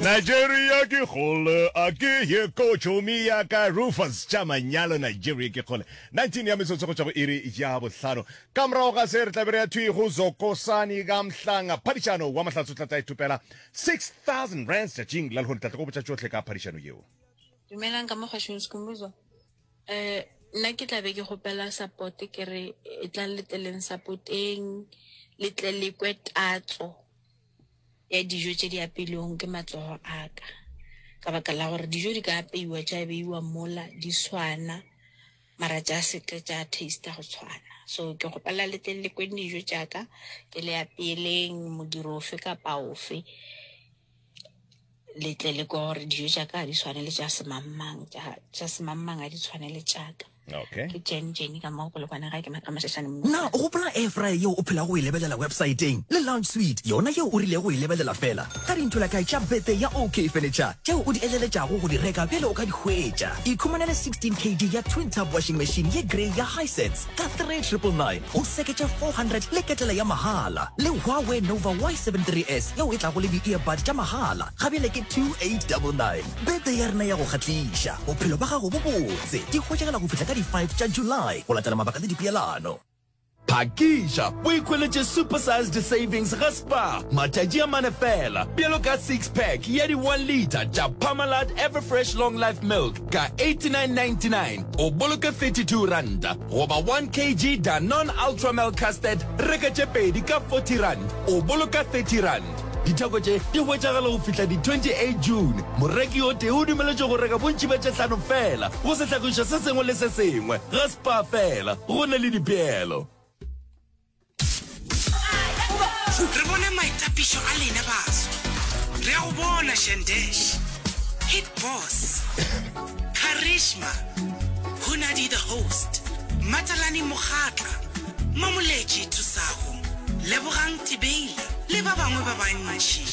Nigeria ke kgole a ke ye ko tšhomi ya ka Rufus tša manyalo Nigeria ke kgole 19 ya metsotso go tšwa go iri ya bohlano ka morago ga se re tla be re ya thwi go Zokosani ka Mhlanga phadišano wa Mahlatse o tla tla ithopela 6000 rands tšatšing la lehono tla tla go botša tšohle ka phadišano yeo. Dumelang ka mo kgašong Skhumbuzo. Eh nna ke tla be ke kgopela support ke re e tlang le tleleng supporteng le tle le kwe tatso ya dijo tše di apeilwego ke matsogo a ka. Ka baka la gore dijo di ka apeiwa tša beiwa mola di swana mara tša se tle tša taster go tshwana. So ke kgopela le tle le kweng dijo tša ka ke le apeeleng modiro ofe kapa ofe. Le tle le kwe gore dijo tša ka ga di tshwane le tša semangmang, tša semangmang ga di tshwane le tša ka. Okay. Ke Jen Jenny ka mo Polokwane gae ke Mashashane mo. Na o gopola air fryer yeo o phelago o e lebelela websaeteng le lounge suite yona yeo o rilego go e lebelela feela ka dintholakae tša birthday ya OK Furniture tšeo o di eleletšago go di reka bjale o ka di hwetša? Ikhumanele 16 kg ya twin tub washing machine ye grey ya Hisense ka 3999 o seketše 400 le ketela ya mahala le Huawei Nova Y73s yeo e tlago le di-earbud tša mahala ga bjale ke 2899. Birthday ya rena ya go kgahliša, bophelo ba gago bo botse, di hwetšagala go fihla ka di 5 tša July go latela mabaka le dipeelano. Phakiša o ikhweletše super sized savings ga Spar matšatši a mane fela, bjalo ka six pack ya di one litre tša Parmalat Everfresh Long Life Milk ka 89.99 o boloke 32 ranta, goba one kg Danone Ultramel Custard reka tše pedi ka 40 rand o boloka 30 rand. Ditheko tše di hwetšagala go fihla di 28 June. Moreki o tee o dumeletšwe go reka bontši bja tše hlano feela go sehlagišwa se sengwe le se sengwe ga Spar fela go na le dipeelo. Re bone maitapišo a lena baswa. Re a go bona Shandesh, Hit Boss, Karishma, Hunadi the Host, Matalani Mokgatla, Mamoletši Thusago, Lebogang Tibeila le ba bangwe ba bantši.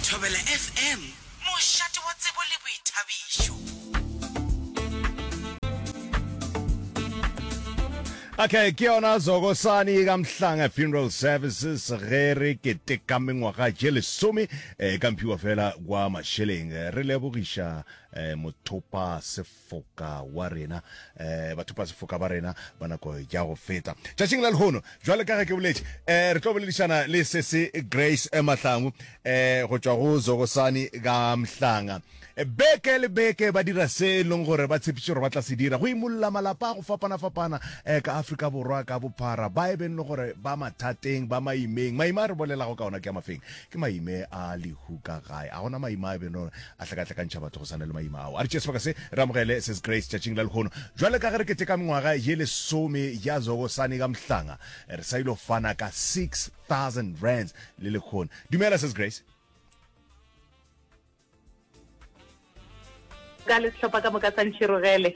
Thobela FM, mošate wa tsebo le boithabišo. Okay, ke yona Zokosani ka Mhlanga Funeral Services ge re keteka mengwaga je lesome eh, ka mphiwa fela kwa mašeleng re lebogiša eh, mothopa sefoka wa rena eh, bathopa sefoka ba rena ba nako ya go feta tšatšing la lehono jwale ka ge ke boletše eh, re tlo boledišana le sese Grace eh, Mahlangu eh, go tšwa go Zokosani ka Mhlanga eh, beke le beke ba dira se e leng gore ba tshepiše gore ba tla se dira go imolla malapa a go fapana-fapana eh, ka Afrika Borwa ka bophara ba e beng le gore ba mathateng ba maimeng maima a re bolelago ka ona ke a mafeng Ke maime a lehu ka gae. A gona maima a e beno a hlakahlakantšha batho go swana le maima ao. A re tšee sebaka se re amogele Sis Grace tšatšing la lehono. Jwale ka ge re keteka mengwaga ye lesome ya Zokosani ka Mhlanga, re sa ilo fana ka 6000 rands le lehono. Dumela Sis Grace. Ka le sehlopha ka moka sa Ntšhirogele.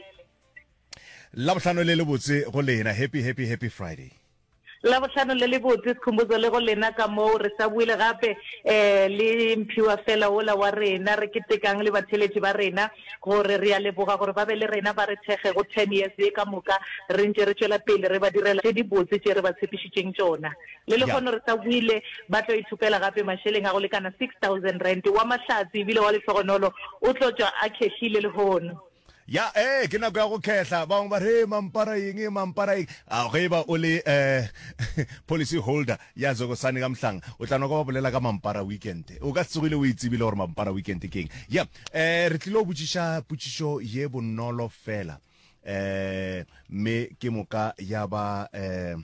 Labohlano le lebotse go lena. Happy happy happy Friday. Labohlano le lebotse, Skhumbuzo le go lena ka moo. Re sa boile gape um le mphiwa fela wola wa rena. Re ketekang le batheeletši ba rena gore re a leboga gore ba be le rena ba re thekge go ten years ye ka moka re ntše re tšwela pele re ba direla tše dibotse tše re ba tshepišitšeng tšona. Le lehono re sa boile ba tlo ithopela gape mašeleng a go lekana R6000. Wa mahlatse ebile wa lehlogonolo o tlo tšwa a khehlile lehono. Ya, ee, ke nako ya go khehla. Ba bangwe ba re, mampara eng, mampara eng. A ge e ba o le eh, policy holder ya Zokosane ka Mhlanga, o tla no kwa ba bolela ka mampara weekend. O ka se tsogile o e tsebile gore mampara weekend ke eng. Ya, eh, re tlile go botšiša potšišo ye bonolo fela. Eh, mme ke moka ya ba eh,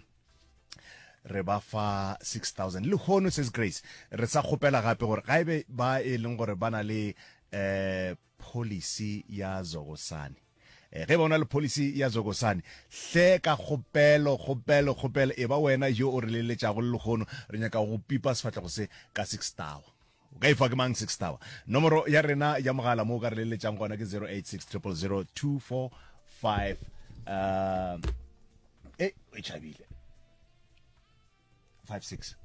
re ba fa 6000 lehono says Grace re sa kgopela gape gore ga ebe ba e leng gore ba na le eh Policy ya Zokosane. Ge e ba o na le policy ya Zokosane, hle ka kgopelo, kgopelo, kgopelo, e ba wena yo o re leletšago le lehono. Re nyaka go pipa sefahlego se ka Six Tower. O ka e fa ke mang Six Tower? Nomoro ya rena ya mogala mo o ka re leletšang gona ke 086 000 245 uh, e e tšhabile. 56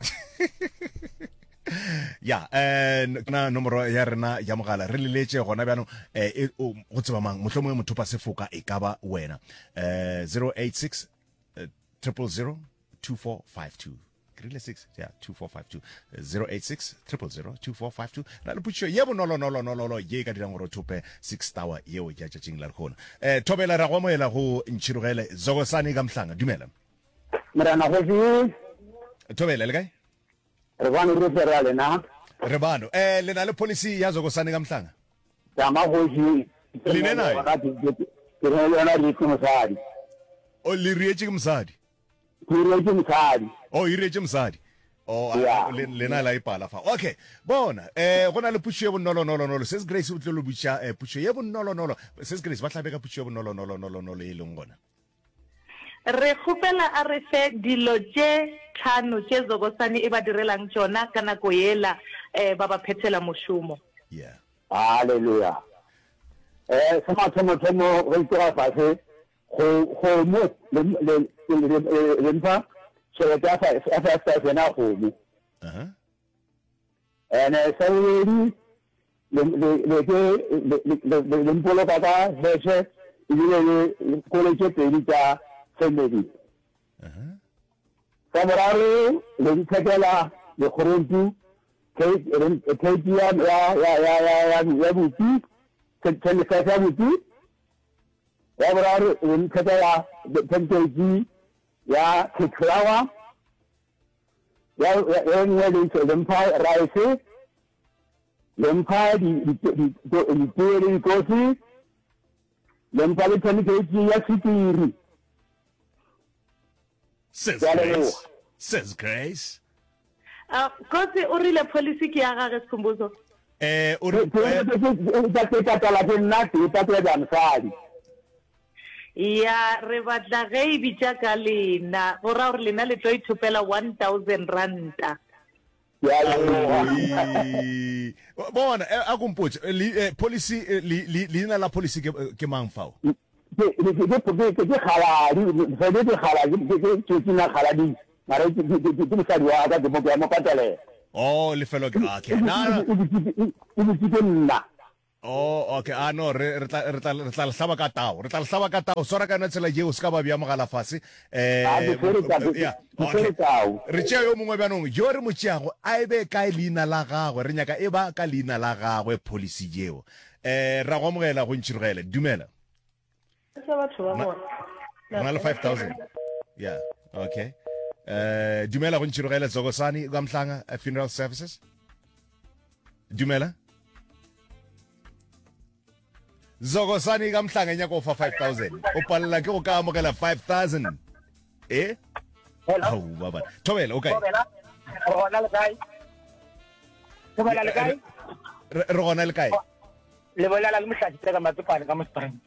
ya eh na nomoro ya rena ya mogala re leletše gona bjanong eh e, go tseba mang mohlomongwe mothopa sefoka e ka ba wena eh 086 000 2452 ke Ke rile 6 ya 2452 086 000 2452. Na le potšišo ye bonolonolonololo ye e ka dirang gore o thope 6 tower yeo ya tšatšing la lehono. Eh, Thobela ra go amohela go Ntšhirogele Zokosani ka Mhlanga. Dumela. Morena Kgoši. Thobela le kae? Re bano re tle re a lena. Re bano. Eh le na le policy ya Zokosani ka Mhlanga? Tama Kgoši. Le ne nayo? Ke ne le yona re ke mosadi. O le rietše ke mosadi? Ke rietše mosadi. O e rietše mosadi. Oh, Yeah. le lena la ipala fa. Okay. Bona, eh go na le pušo ye bonolonolonolo. Sis Grace o tlo le botša eh, pušo ye bonolonolo. Sis Grace ba hlabe ka pušo ye bonolonolonolonolo e leng gona. Re kgopela a re fe dilo tše tlhano tše Zokosani e ba direlang tšona ka nako yela ba ba phethela mošomo. Yeah. Haleluya. Eh, sa mathomothomo ge itira fase, go kgomo le le le le mpha tšhelete ya ya 5000 ya kgomo. Uh-huh. Ene sa bobedi le le le ke le le le le mpoloka ka heshe ebile le kole tše pedi tša family. Uh-huh. Sa boraro le nthekela lekgorompu cake ya ya ya ya ya ya bupi 25 ya bupi. Ya boraro le nthekela 10 kg ya cake flour. Ya ya nngwe le le mpha rice le mpha ditee le dikofi le mpha le 10 kg ya sukiri. Says Ke a Grace. leboga. Says Grace. Uh, Kotse o rile policy ke ya gage Sikhumbuzo. Eh, o re Ke eh, ke patala ke nna ke patela ja mosadi. Ya re batla ge e bitša ka lena go ra gore lena le tlo ithopela 1000 ranta. Ke a leboga. Aoi. Bona, eh, a kompotše, eh, le, eh, policy, eh, le, le, leina la policy ke, eh, ke mang fao? Ke ke ke ke ke ke kgaladi, mosadi ke kgaladi, ke ke ke ke na kgaladi, mara ke ke ke ke mosadi wa ka ke mo ke a mo patalela. Oh, lefelo ke, okay. Na, na, E bitsitse e bitsitse nna. Oh, okay. Ah, no, re, re tla, re tla, re tla le hlaba ka tao. Re tla le hlaba ka tao. Swara ka yona tsela yeo, se ka ba bea mogala fase. Eh, Ah, ke swere tao, ke- yeah, ke swere okay. tao. Re tšea yo mongwe bjanong, yo re mo tšeago, a e be kae leina la gagwe? Re nyaka e ba ka leina la gagwe policy yeo. Eh, ra go amogela go Ntšhirogele. Dumela. Tsa batho ba bona. Re na le 5000. Yeah, okay. Eh, dumela go Ntšhirogele Tsokosani kwa Mhlanga eh, Funeral Services. Dumela. Zokosani ka Mhlanga e nyaka go fa 5000. O palela ke go ka amogela 5000. Eh? Hello. Au, baba. Thobela, o kae? Thobela. Re gona le kae? Thobela le kae? Re re gona le kae? Le bolela le Mohlaši Teka Matsopane ka mo Springs.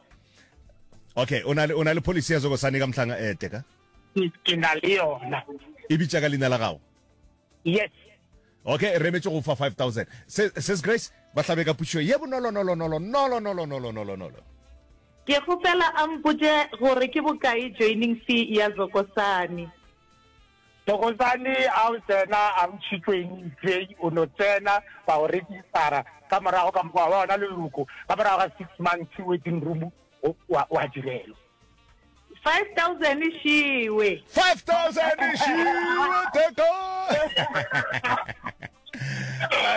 Okay, o na le o na le policy ya Zokosani ka Mhlanga eh Teka? Ke na le yona. E bitša ka leina la gago? Yes. Okay, re emetše go fa 5000. Se Sis Grace, ba hlabe ka potšišo ye bonolo nolo nolo nolo nolo nolo nolo nolo. Ke kgopela a mpotše gore ke bokae joining fee ya Zokosani. Thokozani a o tsena a ntšhitšweng fee o no tsena ba go registera ka morago ka mokgwa wa ona leloko ka morago ga six months waiting room wa wa direlwa. 5000 šiwe. 5000 šiwe teka.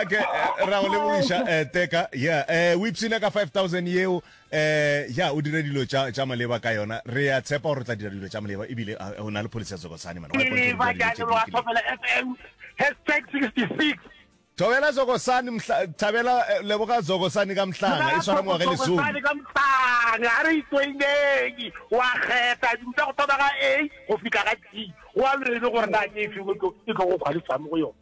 Okay, eh, ra go lebogiša eh, teka yeah eh o ipshine ka 5000 yeo eh ya o dire dilo tša tša maleba ka yona re a tshepa gore o tla dira dilo tša maleba ebile ah, o na le policy ya Tsokosane man wa ipontsha Ke gore dira dilo tše di leboga lokileng. Thobela FM hashtag 66. Thobela Zokosane mhla thabela eh, leboga Zokosane ka mhlanga e swara ngwaga e lesome. Zokosane ka mhlanga a re itsoineng wa kgetha dilo tša go thoma ga A go fihla ga G go a lwele gore na ke efe e tlo e tlo go kgwalifang mo go yona.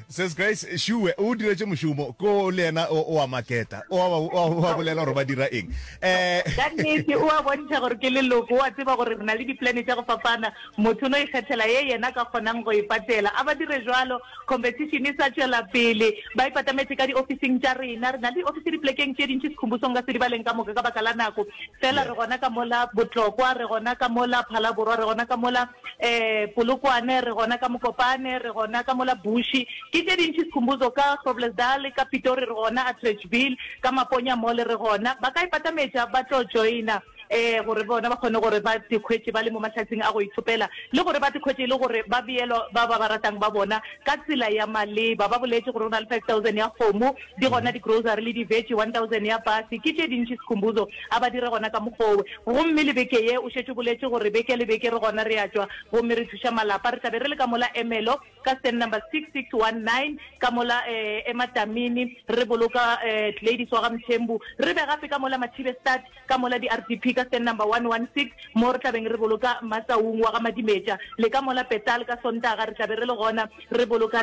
Sis Grace Shuwe o diretše mošomo ko le yena o o a maketa o a o a bolela gore ba dira eng eh Ka nnete o a bontšha gore ke leloko, o a tseba gore re na le diplane tša go fapana, motho o no ikgethela ye yena a ka kgonang go e patela. A ba dire jwalo, competition e sa tšwela pele, ba ipatametše ka diofising tša rena. Re na le diofisi dipolekeng tše dintši, Sikhumbuzo nka se di baleng ka moka ka baka la nako, fela re gona ka mola Botlokwa, re gona ka mola Phalaborwa, re gona ka mola um Polokwane, re gona ka Mokopane, re gona ka mola Bushi. Ke tše dintši Sikhumbuzo, ka Groblersdal, ka Pitori re gona, Atteridgeville, ka Maponya Mall re gona. Ba ka ipatametša ba tlo joina. um gore bona ba kgone gore ba tikhwetše ba le mo mahlatsing a go ithopela le gore ba tikhwetše e le gore ba beelwa ba ba ba ratang ba bona ka tsela ya maleba. Ba boletše gore go na le 5000 ya kgomo, di gona di-grocery le di-veggie, 1000 ya pase. Ke tše dintši Sikhumbuzo a ba dire gona ka mokgowe. Gomme le beke ye o šetše o boletše gore beke le beke re gona re a tšwa gomme re thuša malapa. Re tla be re le ka mola Ermelo ka stand number 6619 ka mola Ematamini re boloka Gladys wa ga Mthembu. Re be gape ka mola Mathibestad ka mola di-RDP ka stand number 116 mo re tla beng re boloka Matsaung wa ga Madimetša. Le ka mola Petal ka Sontaga re tla be re le gona re boloka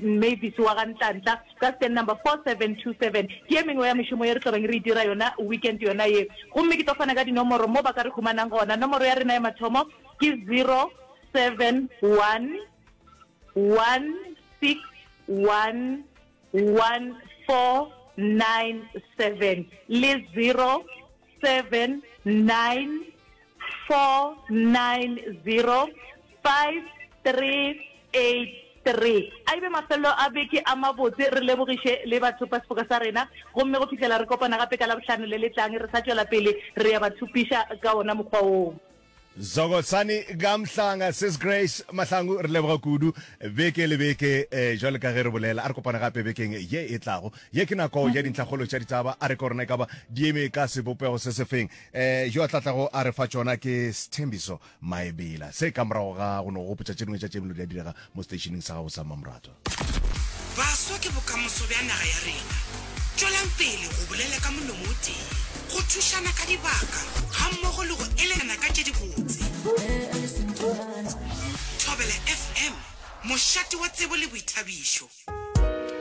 Mavis wa ga Ntlantla ka stand number 4727. Ke ye mengwe ya mešomo ye re tlo beng re e dira yona weekend yona ye. Gomme ke tlo fana ka dinomoro mo ba ka re humanang gona. Nomoro ya rena ya mathomo ke 071 161 1497 le 079 490 5383. A e be mafelelo a beke a mabotse, re lebogiše le bathopa sefoka sa rena, gomme go fihlela re kopana gape ka Labohlano le le tlang, re sa tšwela pele re ya ba thupiša ka wona mokgwa woo. Zokosani ka Mhlanga, Sis Grace Mahlangu, re leboga kudu beke le beke eh, jwale ka ge re bolela. A re kopane gape bekeng ye e tlago. Ye ke nako ya dintlhakgolo tša ditaba. A re ko rena e ka ba di eme ka sebopego se se feng. Eh, yo a tla tlago a re fa tšona ke Sthembiso Maebela. Se ka morago ga go no gopotša tše dingwe tša tše dilo di a direga mo seteišeneng sa gago sa mmamoratwa. Baswa ke bokamoso bja naga ya rena. Tšwelang pele go bolela ka molomo o tee, go thušana ka dibaka gammogo le go elelana ka tše dibotse. Thobela FM, mošate wa tsebo le boithabišo.